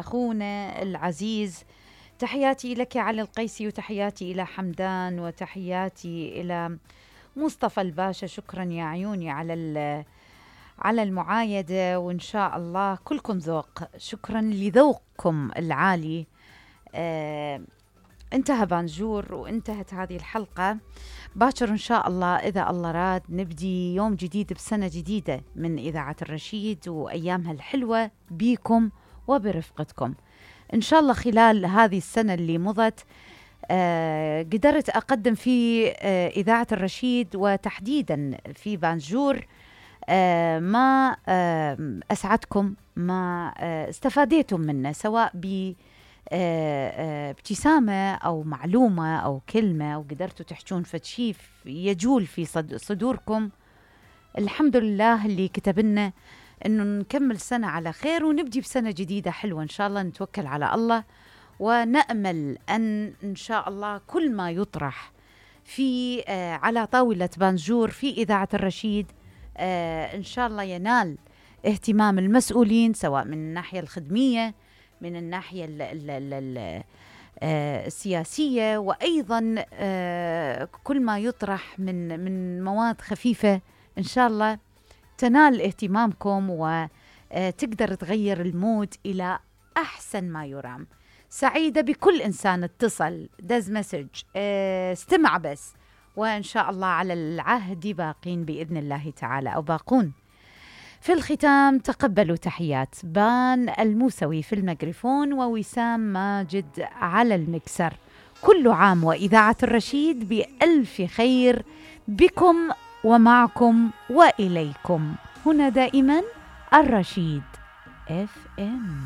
أخونا العزيز. تحياتي لك علي القيسي، وتحياتي إلى حمدان، وتحياتي إلى مصطفى الباشا. شكرا يا عيوني على المعايدة، وإن شاء الله كلكم ذوق. شكرا لذوقكم العالي. انتهى بانجور وانتهت هذه الحلقة. باكر إن شاء الله إذا الله راد نبدي يوم جديد بسنة جديدة من إذاعة الرشيد، وأيامها الحلوة بيكم وبرفقتكم إن شاء الله. خلال هذه السنة اللي مضت قدرت أقدم في إذاعة الرشيد وتحديدا في بانجور ما أسعدكم، ما استفاديتم منه، سواء ابتسامة أو معلومة أو كلمة، أو قدرتوا تحجون فتشي يجول في صدوركم. الحمد لله اللي كتبنا إنه نكمل سنة على خير ونبدي بسنة جديدة حلوة إن شاء الله. نتوكل على الله ونأمل إن شاء الله كل ما يطرح في على طاولة بانجور في إذاعة الرشيد إن شاء الله ينال اهتمام المسؤولين، سواء من الناحية الخدمية، من الناحية السياسية، وأيضا كل ما يطرح من مواد خفيفة إن شاء الله تنال اهتمامكم وتقدر تغير المود إلى أحسن ما يرام. سعيدة بكل إنسان اتصل دز مسج استمع بس، وإن شاء الله على العهد باقين بإذن الله تعالى، أو باقون. في الختام تقبلوا تحيات بان الموسوي في الميكروفون، ووسام ماجد على المكسر. كل عام وإذاعة الرشيد بألف خير بكم ومعكم وإليكم. هنا دائما الرشيد FM.